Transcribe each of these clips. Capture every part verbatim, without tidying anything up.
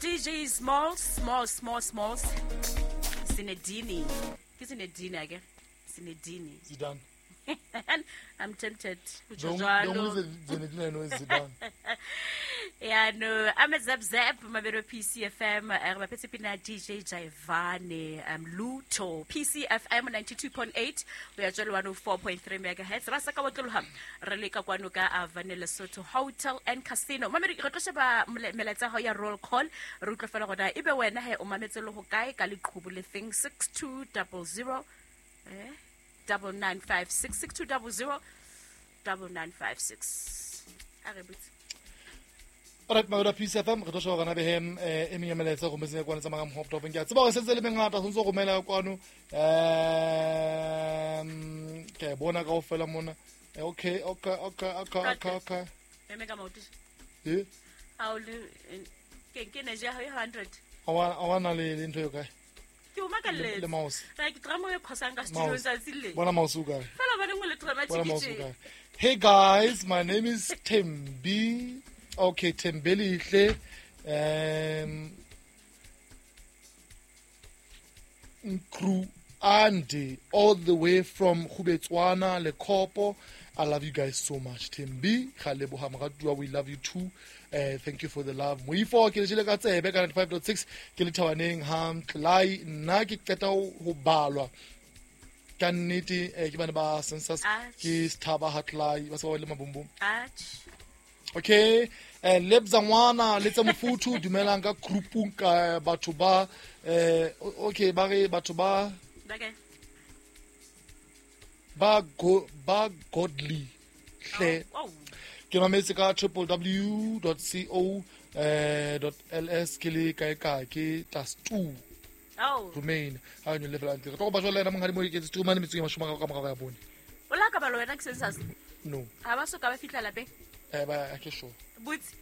D J Smalls, Smalls, Smalls, Smalls. Zinedine. Ke Zinedine again. Zinedine. Zidane. I'm tempted. The only Zinedine I know is Zidane. Yeah, no. I'm a Zap Zap, Mabero P C F M, Pina D J Jaivane, um, Luto, P C F M ninety-two point eight. We are one oh four point three megahertz. Rasaka Watlham, Releka Kwanuka, Vanilla Soto Hotel and Casino. Mameri Rotoshaba Meleta Hoya roll call, Rutla Falagoda, Ibe Wena, Omametelo Hokai, Kali Kubule thing, six two double zero. Eh? Double nine five six six two double zero double nine five six. All right, my P C F M, re tlo sheba gona behem e meng ya melaetsa go metseng ya kwana tsa manga mhop top ke a tseba gore sentse le mengata tshwanetse go romela kwano um ke bona kaofela mona. Okay, okay, okay, okay, okay, okay. Eme ka maoto. Eh? Ha o le ke ke ne ja hundred. Awa awa na le ntho yo kae? Ke o makalletse. Le mouse. Like drama e khosang ka studio tsatsi le. Bona mouse o kae? Fela ba nngwe le drama tshikitse. Hey guys, my name is Thembi. Okay, Thembelihle. Um Nkru Andy, all the way from Khubetswana, Lekopo. I love you guys so much. Thembi, Khaleboha Moratuwa, we love you too. Uh, thank you for the love. Moifo ke le jele ka tsebe ka ninety-five point six ke le thabaneng ha Mtlai nna ke qeta ho balwa. Ka nnete ke bana ba census ke sthaba ha Tlai ba se ba le mabumbum. Okay, eh lebza ngwana le tsa mofuthu dumelang ka groupung ka batho ba eh okay ba re batho ba okay ba go ba godly hle. Oh. Ke mametse ka w w w dot co dot l s ke le kae kae ke plus two. Oh. Remain. Ha nyo level antle. Re tlo ba jwala ena monghadi mo iketse two mane metseng e mashome a ka morao ya bone. O la ka ba lo wena ke census? No. Ha ba so ka ba fihla lapeng? Eh ba ke sure. Butse.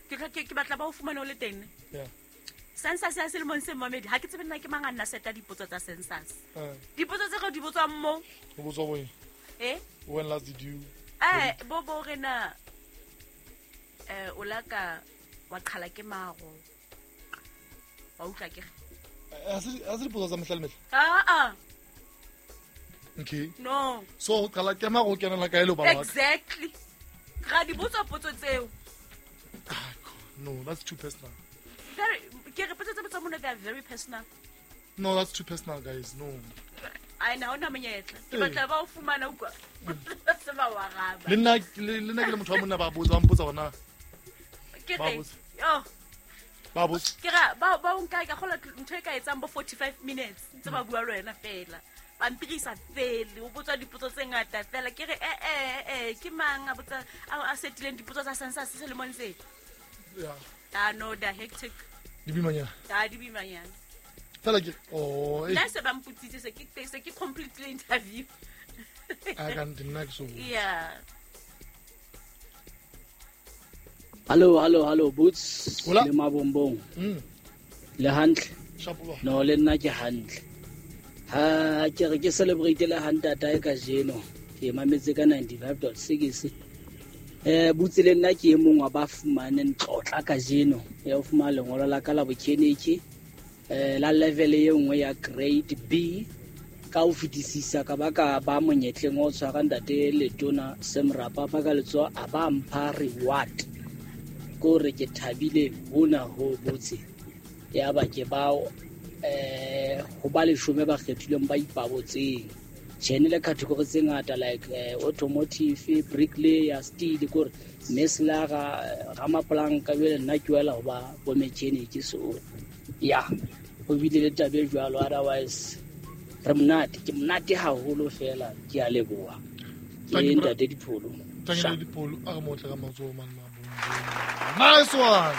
Ke ke ke batla ba o fumane o le teng. Yeah. Census ya selemong se momedi ha ke tsebe nna ke mang a nna seta dipotso tsa census. Eh. Dipotso tse re di botswang mo. Ho botswa bo eng? Eh? When last did you? Eh bo bo rena eh o la ka wa qhala ke maro. Wa utlwa ke. A se a se dipotso tsa mehla le mehla? Ah ah. Okay. No. So qhala ke maro o kenela kae le bana? Exactly. Ga di botswa potso tseo. Ah, no, that's too personal. Very ke re potso tse botswa mona, they are very personal. No, that's too personal, guys. No. I know na monyetla. Ke batla ba o fumana utlwa. Se ba wa raba. Le nna le nna ke le motho wa monna ba botsa ba mpotsa hona. Ke re. Yo. Ba botsa. Ke ra ba ba o nka ka khola ntho e ka etsang bo forty-five minutes ntse ba bua le wena fela. Ba mpirisa fele o botswa dipotso tse ngata fela ke re eh eh eh ke mang a botsa a setileng dipotso tsa census selemong se. Yeah. Ah no, they are hectic. Di bimanyana. Ah di bimanyana. Fela ke oh nna se ba mpotsitse se ke se ke completely interview. I can't nna ke so. Yeah. Hello, hello, hello Boots. Hola. Le mabombong. Mm. Le hantle. Shapola. No le nna ke hantle. Ha ke re ke celebrate le hantata e ka jeno. Ke mametse ka ninety-five point six. Eh Boots le nna ke e mong wa ba fumaneng tlotla ka jeno. Ya o fumana lengolo la ka la bokheneke. Eh la level e nngwe ya grade B ka o fetisisa ka ba ka ba monyetleng o tshwara ntate Letona Semrapa ba ka letsoa a ba mpha reward. Ko re ke thabile hona ho botse ya ba ke ba eh ho ba leshome ba kgethilweng ba ipabotseng tjhene le category tse ngata like eh, automotive, bricklayer, steel ko re meslara ramaplanka jwale nna ke wela ho ba bo mechanic so ya ho bile le tabe jwalo. Otherwise re monate ke monate haholo fela ke a leboha ke ntate Dipholo. Thank you Dipholo a re motle ka matsoho man mabongo. Nice one.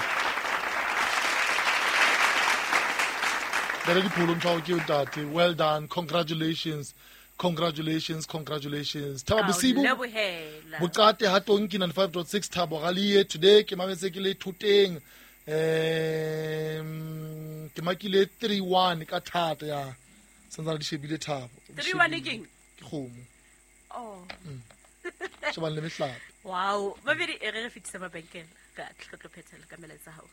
Ntate Dipholo ntho ke ntate. Well done. Congratulations. Congratulations, congratulations. Thabo Bosibo. Bokate ha tonki ninety-five point six Thabo Galie today ke mametse ke le thoteng. Um ke makile three one ka thata ya. Santsa di shebile Thabo. three one keng? Ke kgomo. Oh. Mm. Shebang le mehlape. Wow, mabedi e re re fetisa mabenkele ka tlo tlo phethela ka melaetsa hao.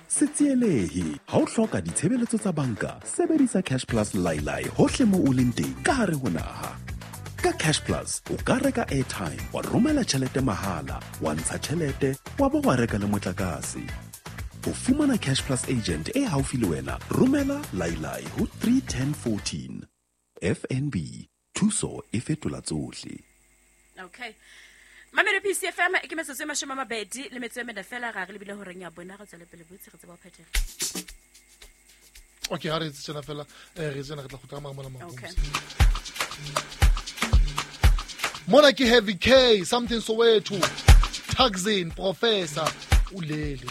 Se tsielehe ha o hloka ditshebeletso tsa banka, sebedisa Cash Plus Lailai hohle mo o leng teng ka hare ho naha. Ka Cash Plus o ka reka airtime, wa romela tjhelete mahala, wa ntsha tjhelete, wa bo wa reka le motlakase. Ho fumana Cash Plus agent e haufi le wena, romela Lailai ho three ten fourteen. F N B, thuso e fetola tsohle. Okay. Mamelo P C F M ke metsotso e mashome a mabedi le metso e mene fela ga re lebile horeng ya bona re tswele pele botse re tseba ho phethela. Okay, ha re etse tjena fela, eh, re tsena re tla kgutla ka mora mona Okay. Mona ke Heavy K, Something Soweto, Taxin, Professor, Ulele.